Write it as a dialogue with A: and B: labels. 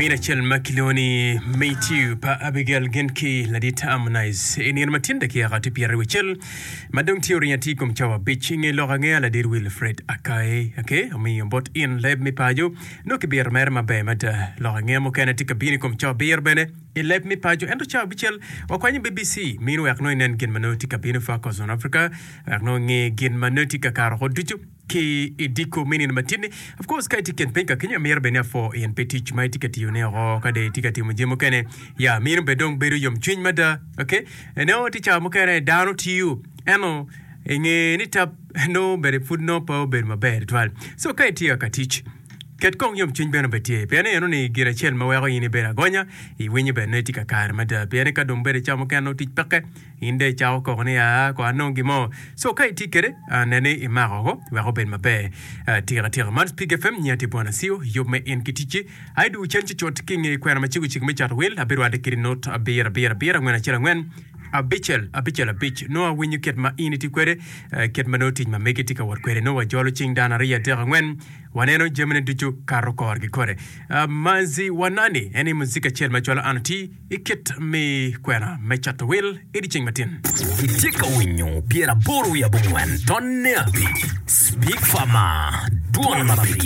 A: Lamin acel ma kilwongo ni Matthew pa Abigail gin ki ladit Harmonize i nino ma tin dakika tye pyeraryo wicel ma dong tye oringo atir i kom cawa abic i nge lok angeya ladit Wilfred Akai ake omiyo bot in leb me paco nongo kibito mere maber mada lok angeya mukene tye ka bino i kom cawa abiro bene i leb me paco ento cawa abicel wakwanyo BBC mino wek nongo inen gin ma nongo tye ka bino Focus on Africa wek nongo inge gin ma nongo tye ka kato oko ducu. Ki i diko me nino matin-ni. Of course, ka itye i kin piny ka kenyo, amito bene ni apwo in pi tic ma itye ka tiyone oko ka dong itye ka timo jami mukene. Ya, meno bene dong bedo yomcwiny mada. Ok, nongo tye cawa mukene dano tiyo ento i nge ni tap nongo bene pud nongo pe obedo maber tutwal. So ka itye ka tic, ket kong yomcwiny bene obed tye pien eno ni gin acel ma weko in ibedo agonya, iwinyo bene nongo itye kakare mada pien ni ka dong bedo cawa mukene nongo tic peke. In dong icako koko ni, Aa, kong anong gin mo. Co ka itye kwede, nen ni imako woko wek obed maber tika tika. Man Spik FM, nyinga tye Bwana Sio, yub me in ki ticci. Ai dwogo cen cucut ki i nge kwena macego cego me cato wil, abirwatte kedi nut abiro abiro abiro angwen acel angwen abicel abicel abic. Nongo awinyo kit ma in itye kwede, kit ma nongo tic ma megi tye ka wot kwede. Nongo wajolo cing dano aryo adek angwen, waneno jamine ducu kato korgi kore. Manzi Wanani en aye muzik acel ma cwalo an oti. I kit me kwena me cato wil i dyeceng matin.
B: Itye ka winyo 85 tonne abic Speak Farmer, Dwon ma pigi.